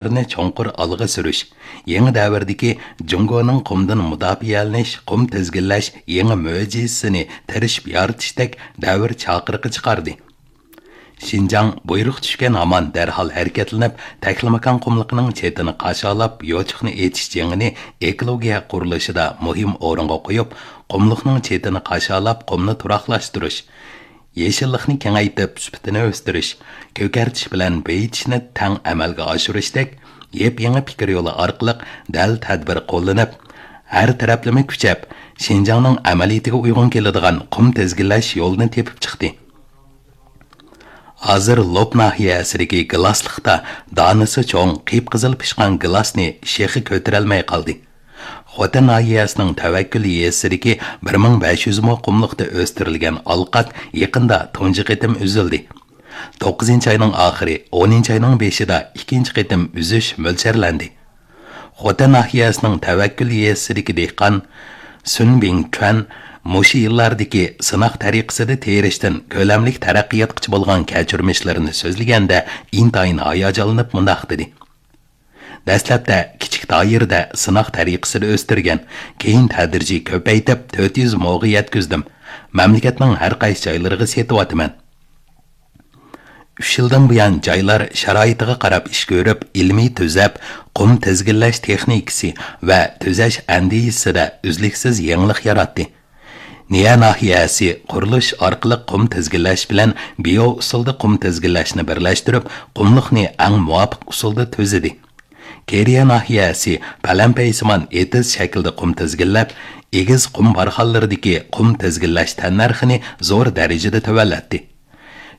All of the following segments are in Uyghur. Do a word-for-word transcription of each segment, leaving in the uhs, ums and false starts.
ئىقتىدارنى چوڭقۇر ئالغا سۈرۈش، يېڭى دەۋردىكى جۇڭگونىڭ قۇمدىن مۇداپىئەلىنىش، قۇم تىزگىنلەش يېڭى مۆجىزىسىنى تىرىشىپ يارىتىشتەك دەۋر چاقىرىقى چىقاردى. شىنجاڭ بۇيرۇق چۈشكەن ھامان دەرھال ھەرىكەتلىنىپ، تەكلىماكان قۇملۇقىنىڭ چېتىنى قاشالاپ، يوچۇقنى ئېچىش جېڭىنى ئېكولوگىيە قۇرۇلۇشىدا مۇھىم ئورۇنغا قويۇپ، قۇملۇقنىڭ چېتىنى قاشالاپ، قۇمنى تۇراقلاشتۇرۇش، يېشىللىقنى كېڭەيتىپ، سۈپىتىنى ئۆستۈرۈش، كۆكەرتىش بىلەن بېيىتىشنى تەڭ ئەمەلگە ئاشۇرۇشتەك يېپيېڭى پىكىر يولى ئارقىلىق دەل تەدبىر قوللىنىپ، ھەر تەرەپلىمە كۈچەپ، شىنجاڭنىڭ ئەمەلىيىتىگە ئۇيغۇن كېلىدىغان قۇم تىزگىنلەش يولىنى تېپىپ چىقتى. ھازىر لوپ ناھىيەسىدىكى گىلاسلىقتا دانىسى چوڭ، قىپقىزىل پىشقان گىلاسنى شېخى كۆتۈرەلمەي قالدى. خوتەن ناھىيەسىنىڭ تەۋەككۈل يېزىسىدىكى بىر مىڭ بەش يۈز مو قۇملۇقتا ئۆستۈرۈلگەن ئالقات يېقىندا تۇنجى قېتىم ئۈزۈلدى. توققۇزىنچى ئاينىڭ ئاخىرى، ئونىنچى ئاينىڭ بېشىدا ئىككىنچى قېتىم ئۈزۈش مۆلچەرلەندى. خوتەن ناھىيەسىنىڭ تەۋەككۈل يېزىسىدىكى دېھقان سۈن بىڭ چۈەن مۇشۇ يىللاردىكى سىناق تەرىقىسىدە تېرىشتىن كۆلەملىك تەرەققىياتقىچە بولغان كەچۈرمىشلىرىنى سۆزلىگەندە ئىنتايىن ھاياجانلىنىپ مۇنداق دېدى: دەسلەپتە كىچىك دائىرىدە سىناق تەرىقىسىدە ئۆستۈرگەن، كېيىن تەدرىجىي كۆپەيتىپ، تۆت يۈز موغا يەتكۈزدۈم. مەملىكەتنىڭ ھەر قايسى جايلىرىغا سېتىۋاتىمەن. ئۈچ يىلدىن بۇيان جايلار شارائىتىغا قاراپ ئىش كۆرۈپ، ئىلمىي تۈزەپ، قۇم تىزگىنلەش تېخنىكىسى ۋە تۈزەش ئەندىزىسىدە ئۈزلۈكسىز يېڭىلىق ياراتتى. نىيە ناھىيەسى قۇرۇلۇش ئارقىلىق قۇم تىزگىنلەش بىلەن بىيو ئۇسۇلدا قۇم تىزگىنلەشنى بىرلەشتۈرۈپ، قۇملۇقنى ئەڭ مۇۋاپىق ئۇسۇلدا تۈزىدى. كېرىيە ناھىيەسى پەلەمپەيسىمان ئېتىز شەكلىدە قۇم تىزگىنلەپ، ئېگىز قۇم بارخانلىرىدىكى قۇم تىزگىنلەش تەننەرخىنى زور دەرىجىدە تۆۋەنلەتتى.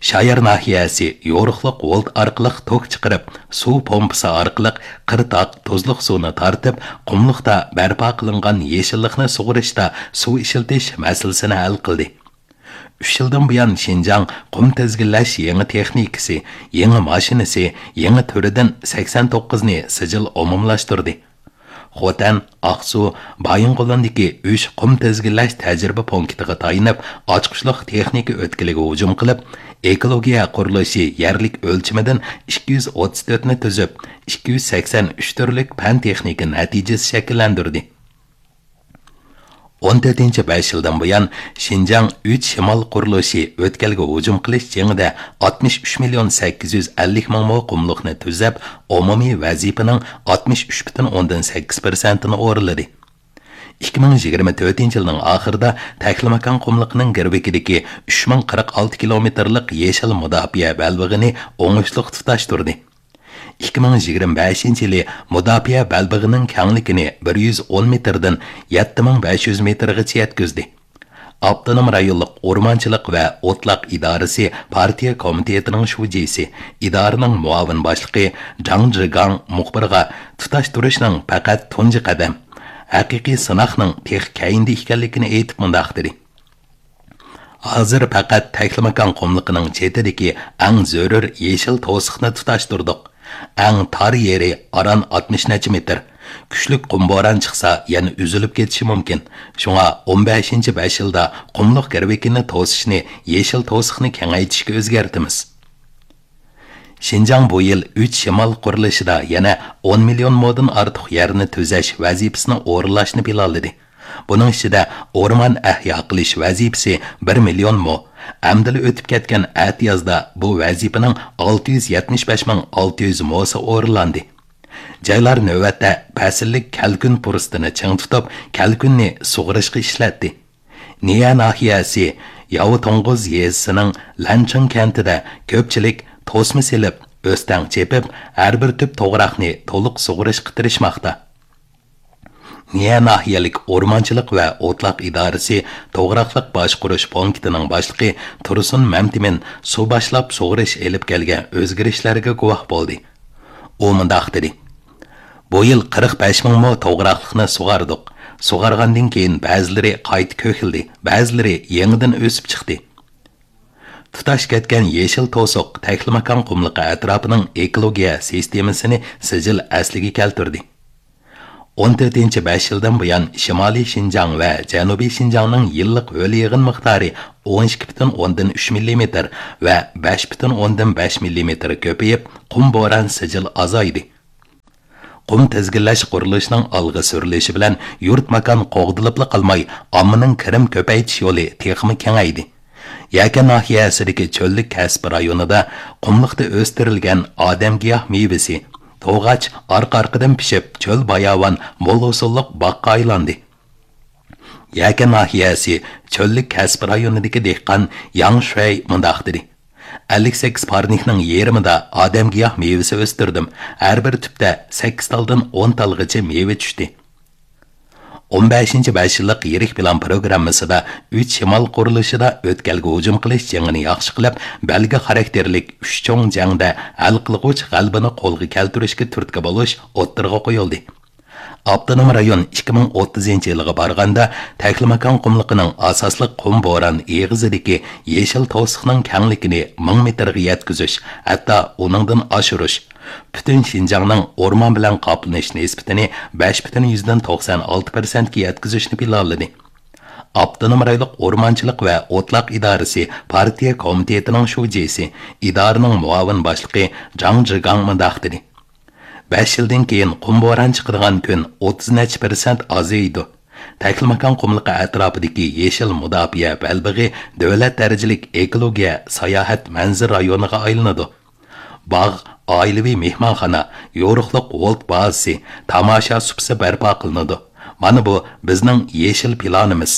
شايار ناھىيەسى يورۇقلۇق ۋولت ئارقىلىق توك چىقىرىپ، سۇ پومپىسى ئارقىلىق قىرتاق، تۇزلۇق سۇنى تارتىپ، قۇملۇقتا بەرپا قىلىنغان يېشىللىقنى سۇغىرىشتا سۇ ئىشلىتىش مەسىلىسىنى ھەل قىلدى. ئۈچ يىلدىن بۇيان شىنجاڭ قۇم تىزگىنلەش يېڭى تېخنىكىسى، يېڭى ماشىنىسى، يېڭى تۈرىدىن سەكسەن توققۇزنى سىجىل ئومۇملاشتۇردى. خوتەن، ئاقسۇ، بايىنغولىندىكى ئۈچ قۇم تىزگىنلەش تەجرىبە پونكىتىغا تايىنىپ، ئاچقۇچلۇق تېخنىكا ئۆتكىلىگە ھۇجۇم قىلىپ، ئېكولوگىيە قۇرۇلۇشى يەرلىك ئۆلچىمىدىن ئىككى يۈز ئوتتۇز تۆتنى تۈزۈپ، ئىككى يۈز سەكسەن ئۈچ تۈرلۈك پەن تېخنىكا نەتىجىسى شەكىللەندۈردى. ئون تۆتىنچى بەش يىلدىن بۇيان، شىنجاڭ ئۈچ شىمال قۇرۇلۇشى ئۆتكەلگە ھۇجۇم قىلىش جېڭىدە ئاتمىش ئۈچ مىليون سەككىز يۈز ئەللىك مىڭ مو قۇملۇقنى تۈزەپ، ئومۇمىي ۋەزىپىنىڭ ئاتمىش ئۈچ پۈتۈن ئوندىن سەككىز پىرسەنتىنى ئورۇنلىدى. ئىككى مىڭ يىگىرمە تۆتىنچى يىلنىڭ ئاخىرىدا تەكلىماكان قۇملۇقىنىڭ گىرۋىكىدىكى ئۈچ مىڭ قىرىق ئالتە كىلومېتىرلىق يېشىل مۇداپىئە بەلبېغىنى ئوڭۇشلۇق تۇتاشتۇردى. ئىككى مىڭ يىگىرمە بەشىنچى يىلى مۇداپىئە بەلبېغىنىڭ كەڭلىكىنى بىر يۈز ئون مېتىردىن يەتتە مىڭ بەش يۈز مېتىرغىچە يەتكۈزدى. ئاپتونوم رايونلۇق ئورمانچىلىق ۋە ئوتلاق ئىدارىسى پارتىيە كومىتېتىنىڭ شۇجىسى، ئىدارىنىڭ مۇئاۋىن باشلىقى جاڭ جىگاڭ مۇخبىرغا تۇتاشتۇرۇشنىڭ پەقەت تۇنجى قەدەم، ھەقىقىي سىناقنىڭ تېخى كەينىدە ئىكەنلىكىنى ئېيتىپ مۇنداق دېدى: ھازىر پەقەت تەكلىماكان قۇملۇقىنىڭ چېتىدىكى ئەڭ زۆرۈر يېشىل توسۇقنى تۇتاشتۇردۇق. ئەڭ تار يېرى ئاران ئاتمىش نەچچە مېتىر. كۈچلۈك قۇم بوران چىقسا، يەنە ئۈزۈلۈپ كېتىشى مۇمكىن. شۇڭا ئون بەشىنچى بەش يىلدا قۇملۇق گىرۋىكىنى توسۇشنى، يېشىل توسۇقنى كېڭەيتىشكە ئۆزگەرتىمىز. شىنجاڭ بۇ يىل ئۈچ شىمال قۇرۇلۇشىدا يەنە ئون مىليون مودىن ئارتۇق يەرنى تۈزەش ۋەزىپىسىنى ئورۇنلاشنى پىلانلىدى. بۇنىڭ ئىچىدە ئورمان ئەھيا قىلىش ۋەزىپىسى بىر مىليون مو. ئەمدىلا ئۆتۈپ كەتكەن ئەتىيازدا بۇ ۋەزىپىنىڭ ئالتە يۈز يەتمىش بەش مىڭ ئالتە يۈز موسى ئورۇنلاندى. جايلار نۆۋەتتە پەسىللىك كەلكۈن پۇرسىتىنى چىڭ تۇتۇپ، كەلكۈننى سۇغىرىشقا ئىشلەتتى. نىيە ناھىيەسى ياۋا توڭغۇز يېزىسىنىڭ لەنچىڭ كەنتىدە كۆپچىلىك توسما سېلىپ، ئۆستەڭ چېپىپ، ھەر بىر تۈپ توغراقنى تولۇق سۇغىرىشقا تىرىشماقتا. نىيە ناھىيەلىك ئورمانچىلىق ۋە ئوتلاق ئىدارىسى توغراقلىق باشقۇرۇش پونكىتىنىڭ باشلىقى تۇرسۇن مەمتىمىن سۇ باشلاپ سۇغىرىش ئېلىپ كەلگەن ئۆزگىرىشلەرگە گۇۋاھ بولدى. ئۇ مۇنداق دېدى: بۇ يىل قىرىق بەش مىڭ مو توغراقلىقنى سۇغاردۇق. سۇغارغاندىن كېيىن بەزىلىرى قايتا كۆكلىدى، بەزىلىرى يېڭىدىن ئۆسۈپ چىقتى. تۇتاش كەتكەن يېشىل توسۇق تەكلىماكان قۇملۇقى ئەتراپىنىڭ ئېكولوگىيە سىستېمىسىنى سىجىل ئەسلىگە كەلتۈردى. ئون تۆتىنچى بەش يىلدىن بۇيان شىمالىي شىنجاڭ ۋە جەنۇبىي شىنجاڭنىڭ يىللىق ھۆل يېغىن مىقدارى ئون ئىككى پۈتۈن ئوندىن ئۈچ مىللىمېتىر ۋە بەش پۈتۈن ئوندىن بەش مىللىمېتىر كۆپىيىپ، قۇم بوران سىجىل ئازايدى. قۇم تىزگىنلەش قۇرۇلۇشىنىڭ ئالغا سۈرۈلۈشى بىلەن يۇرت ماكان قوغدىلىپلا قالماي، ئاممىنىڭ كىرىم كۆپەيتىش يولى تېخىمۇ كېڭەيدى. يەكەن ناھىيەسىدىكى چۆللۈك كەسپى رايونىدا قۇملۇقتا ئۆستۈرۈلگەن ئادەمگىياھ مېۋىسى، توغاچ ئارقا-ئارقىدىن پىشىپ، چۆل باياۋان مول ھوسۇللۇق باغقا ئايلاندى. يەكەن ناھىيەسى چۆللۈك كەسپى رايونىدىكى دېھقان ياڭ شۈەي مۇنداق دېدى: «ئەللىك سەككىز پارنىكنىڭ يېرىمىدا ئادەمگىياھ مېۋىسى ئۆستۈردۈم. ھەر بىر تۈپتە سەككىز تالدىن ئون تالغىچە مېۋە چۈشتى.» ئون بەشىنچى بەش يىللىق يىرىك پىلان پروگراممىسىدا ئۈچ شىمال قۇرۇلۇشىدا ئۆتكەلگە ھۇجۇم قىلىش جېڭىنى ياخشى قىلىپ، بەلگە خاراكتېرلىك ئۈچ چوڭ جەڭدە ھەل قىلغۇچ غەلىبىنى قولغا كەلتۈرۈشكە تۈرتكە بولۇش ئوتتۇرىغا قويۇلدى. ئاپتونوم رايون ئىككى مىڭ ئوتتۇزىنچى يىلغا بارغاندا، تەكلىماكان قۇملۇقىنىڭ ئاساسلىق قۇم بوران ئېغىزىدىكى يېشىل توسۇقنىڭ كەڭلىكىنى مىڭ مېتىرغا يەتكۈزۈش، ھەتتا ئۇنىڭدىن ئاشۇرۇش، پۈتۈن شىنجاڭنىڭ ئورمان بىلەن قاپلىنىش نىسبىتىنى بەش پۈتۈن يۈزدىن توقسان ئالتە پىرسەنتكە يەتكۈزۈشنى پىلانلىدى. ئاپتونوم رايونلۇق ئورمانچىلىق ۋە ئوتلاق ئىدارىسى پارتىيە كومىتېتىنىڭ شۇجىسى، ئىدارىنىڭ مۇئاۋىن باشلىقى جاڭ جىگاڭ مۇنداق دېدى: «بەش يىلدىن كېيىن قۇم بوران چىقىدىغان كۈن ئوتتۇز نەچچە پىرسەنت ئازىيىدۇ. تەكلىماكان قۇملۇقى ئەتراپىدىكى يېشىل مۇداپىئە بەلبېغى دۆلەت دەرىجىلىك ئېكولوگىيە ساياھەت مەنزىرە رايونىغا ئايلىنىدۇ. باغ، ئائىلىۋى مېھمانخانا، يورۇقلۇق ۋولت بازىسى، تاماشا سۇپىسى بەرپا قىلىنىدۇ. مانا بۇ بىزنىڭ يېشىل پىلانىمىز.»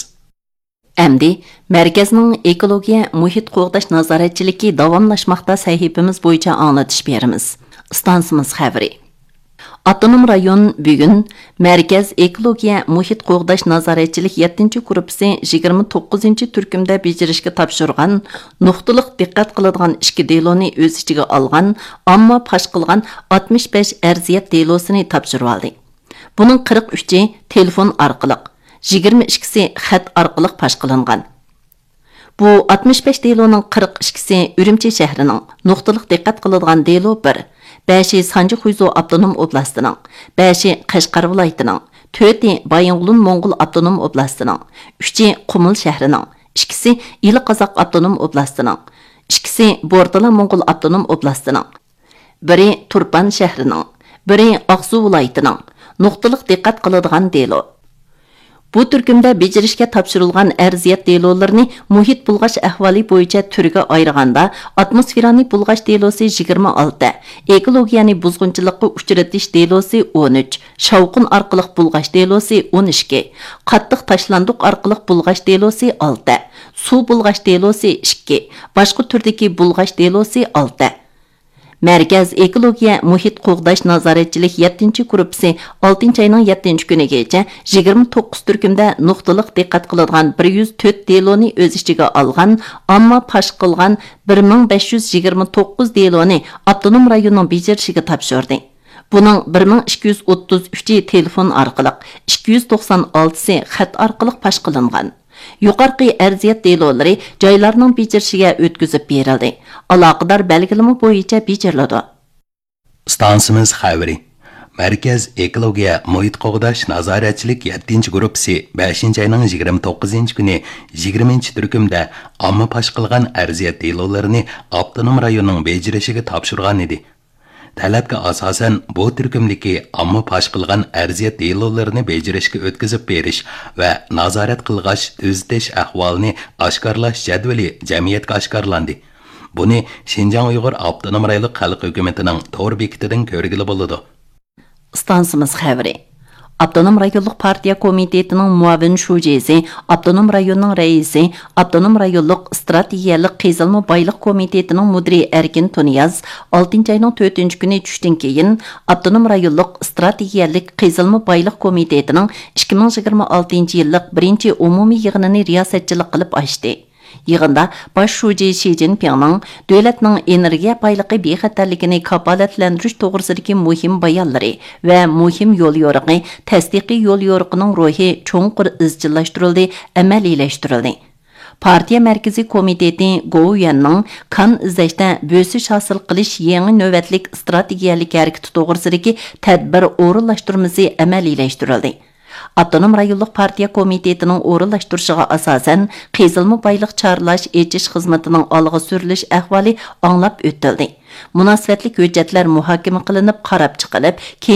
ئەمدى مەركەزنىڭ ئېكولوگىيە مۇھىت قوغداش نازارەتچىلىكى داۋاملاشماقتا سەھىپىمىز بويىچە ئاڭلىتىش بېرىمىز. ئىستانسىمىز خەۋىرى. ئاپتونوم رايون بۈگۈن مەركەز ئېكولوگىيە مۇھىت قوغداش نازارەتچىلىك يەتتىنچى گۇرۇپپىسى يىگىرمە توققۇزىنچى تۈركۈمدە بېجىرىشكە تاپشۇرغان نۇقتىلىق دىققەت قىلىدىغان ئىككى دېلونى ئۆز ئىچىگە ئالغان ئامما پاش قىلغان ئاتمىش بەش ئەرزىيەت دېلوسىنى تاپشۇرۇۋالدى. بۇنىڭ قىرىق ئۈچى تېلېفون ئارقىلىق، يىگىرمە ئىككىسى خەت ئارقىلىق پاش قىلىنغان. بۇ ئاتمىش بەش دېلونىڭ قىرىق ئىككىسى ئۈرۈمچى شەھىرىنىڭ، نۇقتىلىق دىققەت قىلىدىغان دېلو بىر، بەشى سانجى خۇيزۇ ئاپتونوم ئوبلاستىنىڭ، بەشى قەشقەر ۋىلايىتىنىڭ، تۆتى بايىنغولىن موڭغۇل ئاپتونوم ئوبلاستىنىڭ، ئۈچى قۇمۇل شەھىرىنىڭ، ئىككىسى ئىلى قازاق ئاپتونوم ئوبلاستىنىڭ، ئىككىسى بورتالا موڭغۇل ئاپتونوم ئوبلاستىنىڭ، بىرى تۇرپان شەھىرىنىڭ، بىرى ئاقسۇ ۋىلايىتىنىڭ، نۇقتىلىق دىققەت قىلىدىغان دېلو. بۇ تۈركۈمدە بېجىرىشكە تاپشۇرۇلغان ئەرزىيەت دېلولىرىنى مۇھىت بۇلغاش ئەھۋالى بويىچە تۈرگە ئايرىغاندا، ئاتموسفېرانى بۇلغاش دېلوسى يىگىرمە ئالتە، ئېكولوگىيەنى بۇزغۇنچىلىققا ئۇچرىتىش دېلوسى ئون ئۈچ، شاۋقۇن ئارقىلىق بۇلغاش دېلوسى ئون ئىككى، قاتتىق تاشلاندۇق ئارقىلىق بۇلغاش دېلوسى ئالتە، سۇ بۇلغاش دېلوسى ئىككى، باشقا تۈردىكى بۇلغاش دېلوسى ئالتە. مەركەز ئېكولوگىيە مۇھىت قوغداش نازارەتچىلىك يەتتىنچى گۇرۇپپىسى ئالتىنچى ئاينىڭ يەتتىنچى كۈنىگىچە يىگىرمە توققۇز تۈركۈمدە نۇقتىلىق دىققەت قىلىدىغان بىر يۈز تۆت دېلونى ئۆز ئىچىگە ئالغان، ئامما پاش قىلغان بىر مىڭ بەش يۈز يىگىرمە توققۇز دېلونى ئاپتونوم رايوننىڭ بېجىرىشىگە تاپشۇردى. بۇنىڭ بىر مىڭ ئىككى يۈز ئوتتۇز ئۈچى تېلېفون ئارقىلىق، ئىككى يۈز توقسان ئالتىسى خەت ئارقىلىق پاش قىلىنغان. يۇقىرىقى ئەرزىيەت دېلولىرى جايلارنىڭ بېجىرىشىگە ئۆتكۈزۈپ بېرىلدى. ئالاقىدار بەلگىلىمە بويىچە بېجىرىلىدۇ. ئىستانسىمىز خەۋىرى. مەركەز ئېكولوگىيە مۇھىت قوغداش نازارەتچىلىك يەتتىنچى گۇرۇپپىسى بەشىنچى ئاينىڭ يىگىرمە توققۇزىنچى كۈنى يىگىرمىنچى تۈركۈمدە ئامما پاش قىلغان ئەرزىيەت دېلولىرىنى ئاپتونوم رايوننىڭ بېجىرىشىگە تاپشۇرغان ئىدى. تەلەپكە ئاساسەن، بۇ تۈركۈمدىكى ئامما پاش قىلغان ئەرزىيەت دېلولىرىنى بېجىرىشكە ئۆتكۈزۈپ بېرىش ۋە نازارەت قىلغاچ تۈزىتىش ئەھۋالىنى ئاشكارىلاش جەدۋىلى جەمئىيەتكە ئاشكارىلاندى. بۇنى شىنجاڭ ئۇيغۇر ئاپتونوم رايونلۇق خەلق ھۆكۈمىتىنىڭ تور بېكىتىدىن كۆرگىلى بولىدۇ. ئىستانسىمىز خەۋىرى. ئاپتونوم رايونلۇق پارتىيە كومىتېتىنىڭ مۇئاۋىن شۇجىسى، ئاپتونوم رايوننىڭ رەئىسى، ئاپتونوم رايونلۇق ئىستراتېگىيەلىك قېزىلما بايلىق كومىتېتىنىڭ مۇدىرى ئەركىن تۇنىياز ئالتىنچى ئاينىڭ تۆتىنچى كۈنى چۈشتىن كېيىن ئاپتونوم رايونلۇق ئىستراتېگىيەلىك قېزىلما بايلىق كومىتېتىنىڭ ئىككى مىڭ يىگىرمە ئالتىنچى يىللىق بىرىنچى ئومۇمىي يىغىنىنى رىياسەتچىلىك قىلىپ ئاچتى. يىغىندا باش شۇجى شى جىنپىڭنىڭ دۆلەتنىڭ ئېنېرگىيە بايلىقى بىخەتەرلىكىنى كاپالەتلەندۈرۈش توغرىسىدىكى مۇھىم بايانلىرى ۋە مۇھىم يوليورۇقى، تەستىقىي يوليورۇقىنىڭ روھى چوڭقۇر ئىزچىللاشتۇرۇلدى، ئەمەلىيلەشتۈرۈلدى. پارتىيە مەركىزىي كومىتېتى گوۋۇيۈەننىڭ كان ئىزدەشتە بۆسۈش ھاسىل قىلىش يېڭى نۆۋەتلىك ئىستراتېگىيەلىك ھەرىكىتى توغرىسىدىكى تەدبىر ئورۇنلاشتۇرمىسى ئەمەلىيلەشتۈرۈلدى. ئاپتونوم رايونلۇق پارتىيە كومىتېتىنىڭ ئورۇنلاشتۇرۇشىغا ئاساسەن، قېزىلما بايلىق چارلاش، ئېچىش خىزمىتىنىڭ ئالغا سۈرۈلۈش ئەھۋالى ئاڭلاپ ئۆتۈلدى. مۇناسىۋەتلىك ھۆججەتلەر مۇھاكىمە قىلىنىپ، قاراپ چىقىلىپ، كېيىن